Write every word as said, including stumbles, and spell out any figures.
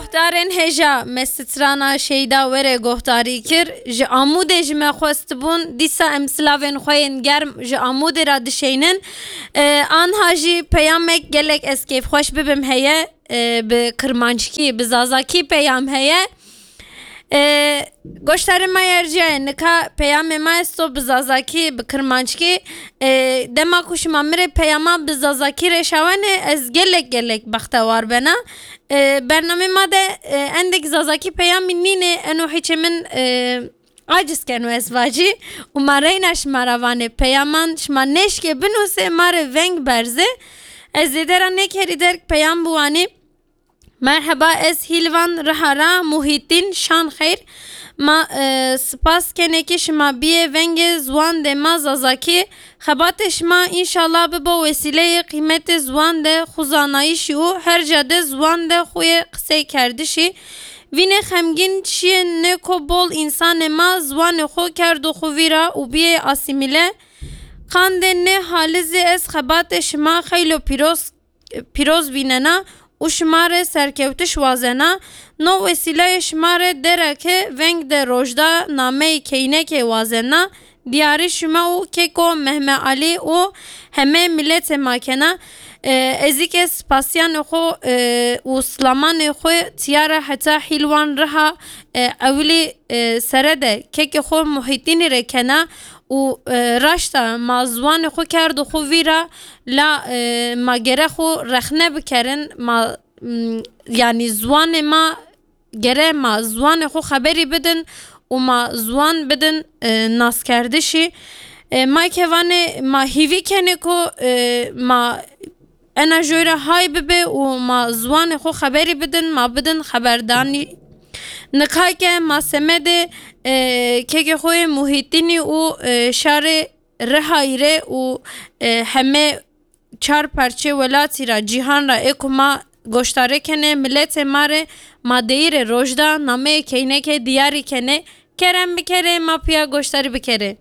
Guhdarên hêja me strana Şeyda were guhdarî kir. Ji Amûdê ji me xwestibûn. Dîsa em silavên xwe yên germ ji Amûdê re dişeynin. E, anha jî peyamek gelek ez kêfxweş bibim heye. E, bi kirmanckî, bi zazakî peyam heye. E, goştarê me yerciyaye, nika peyamê me esto bi zazakî, bi kirmanckî. E, dema ku şima mirê peyama bi zazakî re şawenê, ez gelek gelek bextewar bena. E, bernamê ma de, e, endek zazakî peyamî nînê, eno hiçê min, e, aciz keno ez vacî û ma reyna şima ra vanê peyaman şima nêşkê binûsê ma rê veng berzê. Ez zêde ra nêkerî derg peyam biwanî. Merheba, ez Hîlvan Rihara Muhîtîn Şanxeyr. Ma, e, spas kenê ki şima biyê vengê ziwan de ma zazakî. Xebatê şima înşallah bibo wesîleyê qîmetê ziwan de xuzanayîşî û her ca de ziwan de xuyê qisey kerdişî. Vînê xemgîn çiyê ne ko bol însanê ma ziwanê xo kerdo xo vîra û biyê asîmîle. Qandê ne halizê ez xebatê şima xeylo pîroz pîroz bînena û şima re serkewtiş wazena. No wesîlayê şima re dereke veng de rojda nameyê keynekê wazena. Diyarî şima û keko Mehme Alî û heme miletê ma kena. E, ez î ke spasiyanê xwe, e, û silamanê xwe tiyara heta Hîlwan Riha, e, ewilî, e, sere de kekê xwe Muhîtînî re kena û, e, raşta ma ziwanê xwe kerdo xwe vîra. La, e, ma gere xwe rexne bikerin, ma, m, yanî ziwanê ma gere ma ziwanê xwe xeberî bidin û ma ziwan bidin, e, naskerdişî. E, ma kevanê ma hîvî kenê ku, e, ma ena joy re hay bibe û ma ziwanê xwe xeberî bidin, ma bidin xeberdanî. Nikayke ma semedê, e, kekê xwe yê Muhîtînî û, e, şarê Rihayî re û, e, heme çar parçê welatî ra, cîhan ra ê ku ma goştarê kenê, miletê ma re ma deyîrê rojda nameyê keynekê diyarî kenê. Kerem bikerê, ma piya goştarî bikerê.